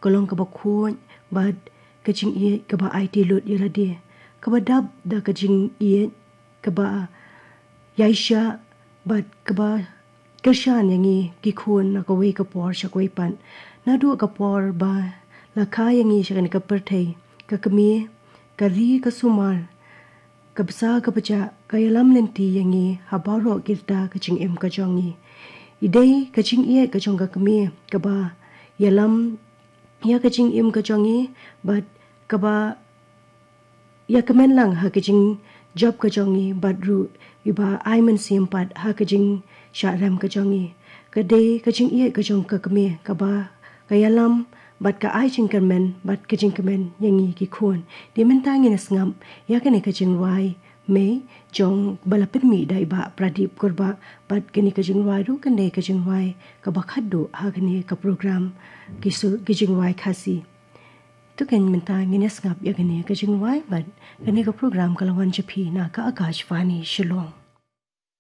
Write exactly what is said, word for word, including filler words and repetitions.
ka long kaba khuid bad ka jingïeit kaba aiti lut ïa lade, kaba dap da ka jingïeit kaba ïaishah bad kaba kyrshan ïa ngi ki khun na kawei ka por sha kawei pat. Naduh ka por ba la kha ïa ngi sha kane ka pyrthei, ka kmie, ka ri ka sumar, ka bsa ka bjah, ka ïalam lynti ïa ngi ha baroh ki rta ka jingim ka jong ngi. I dei ka jingïeit ka jong ka kmie kaba ïalam ïa ka jingim ka jong ngi bad kaba ïa kmen lang ha ka jingjop ka jong ngi bad ruh iba ai mynsiem pat ha ka jingshah rem ka jong ngi. Ka dei ka jingïeit ka jong ka kmie kaba ka ïalam bad ka ai jingkyrmen bad ka jingkmen ïa ngi ki khun. Te mynta ngin ïa sngap ïa kane ka jingrwai Mei jong ba la pynmih da i Bah Pradip Kurbah bad kane ka jingrwai ruh kan dei ka jingrwai kaba khatduh ha kane ka program ki su ki jingrwai Khasi. To kan mynta ngin ïa sngap ïa kane ka jingrwai bad kane ka program ka la wan sha phi na ka Akashvani Shillong.